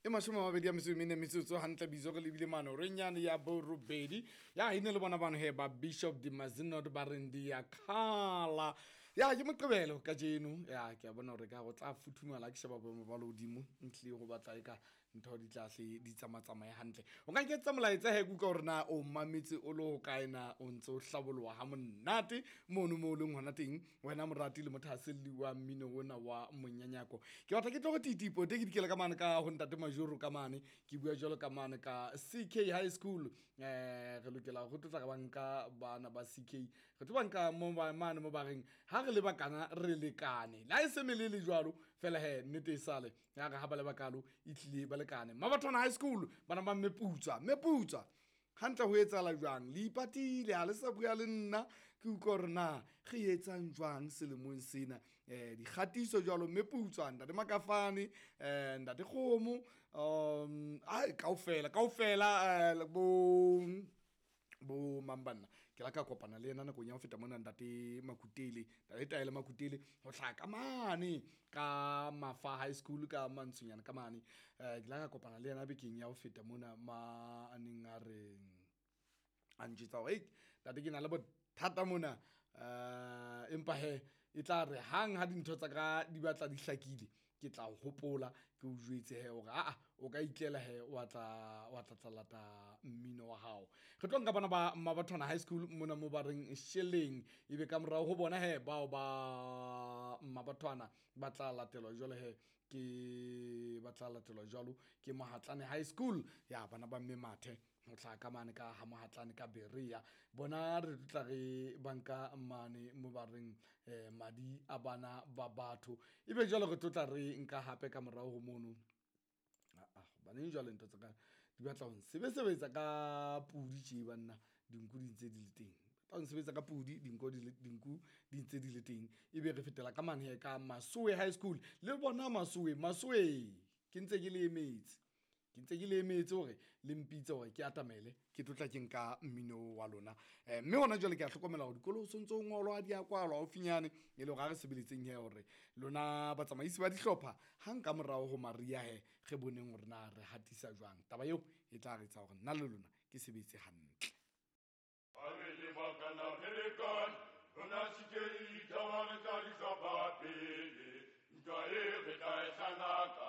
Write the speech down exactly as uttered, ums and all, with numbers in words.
E mashome a mabedi a metso e mene metsotso hantle bizo re lebile mane renyane ya borobedi ya ine le bona bano he ba Bishop de Mazenod ba reng di ya khala ya ke Moqebelo kajeno ya ke a bona hore ka go tla futhumala ke sheba boemo ba lehodimo ntle go batla e ka ntho di tla hle di tsamatsamaye hantle. O ka nketsa molaetsa he ke utlwa hore na o mametse o le hokae, na o ntse o hlaboloha ha monate mono mo o leng hona teng wena morati le mothahaselli wa mmino ona wa monyanyako. Ke batla ke tlo go titipo te ke dikela ka mane ka ho ntate Majoro ka mane ke bua jwalo ka mane ka C K High School. Eh re lokela ho tlotla ka banka bana ba C K, re tlo banka mo ba mane mo ba reng ha re le bakana re lekane la e se melele jwalo fela he nnete e sale ya re ha ba le bakalo e tlile ba lekane. Mabathwana High School bana ba Mmeputswa, Mmeputswa hantle ho etsahala jwang le ipatile ha le sa bua le nna ke utlwa hore na re etsang jwang selemong sena. Eh dikgatiso jwalo Mmeputswa ntate Makafane, eh ntate Kgomo, um ai kaofela kaofela eh bo bo mang banna ke la ka kopana le yena nakong ya ho feta mona ntate Makutele, ntate Taele Makutele ho hlaha ka mane ka Mafa High School ka Mantshonyana ka mane. Eh ke la ka kopana le yena bekeng ya ho feta mona ma a neng a re a ntjwetsa hore, hei ntate ke na le bothata mona, eh empa he e tla re hang ha dintho tsa ka di batla di hlakile ke tla hopola ke o jwetse he hore aa o ka itlela he wa tla wa tla tla lata mmino wa hao. Re tlo nka bana ba Mabathwana High School mona mo ba reng Sheleng, ebe ka morao ho bona he bao ba Mabathwana ba tla latelwa jwalo he ke ba tla latelwa jwalo ke Mohatlane High School ya bana ba mme Mathe ho hlaha ka mane ka ha Mohatlane ka Berea. Bona re tla re banka mane mo ba reng, eh, madi a bana ba batho, ebe jwale re tlo tla re nka hape ka morao ho mono. Ah, hobaneng jwale ntho tsa ka di batla ho nsebesebetsa ka pudi tje banna, dinku di ntse di le teng. Tla nsebetsa ka pudi, dinko di le, dinku di ntse di le teng. Ebe re fetela ka mane he ka Masowe High School. Le bona Masowe, Masowe ke ntse ke le emetse. Ke ntse ke le emetse hore le mpitse hore ke atamele, ke tlo tla ke nka mmino wa lona. Eh, mme hona jwale ke a hlokomela hore dikolo ho sontso ho ngolwa, di a kwalwa haufinyane, e le hore ha re sebeletseng he hore lona batsamaisi ba dihlopha hang ka morao ho Maria he re boneng hore na re hatisa jwang. Taba eo e tla re etsa hore nna le lona ke sebetse hantle. Ha re le bakana re lekane, rona C K taba re tla di hlopha pele. Ntwa e re tla e hlanaka,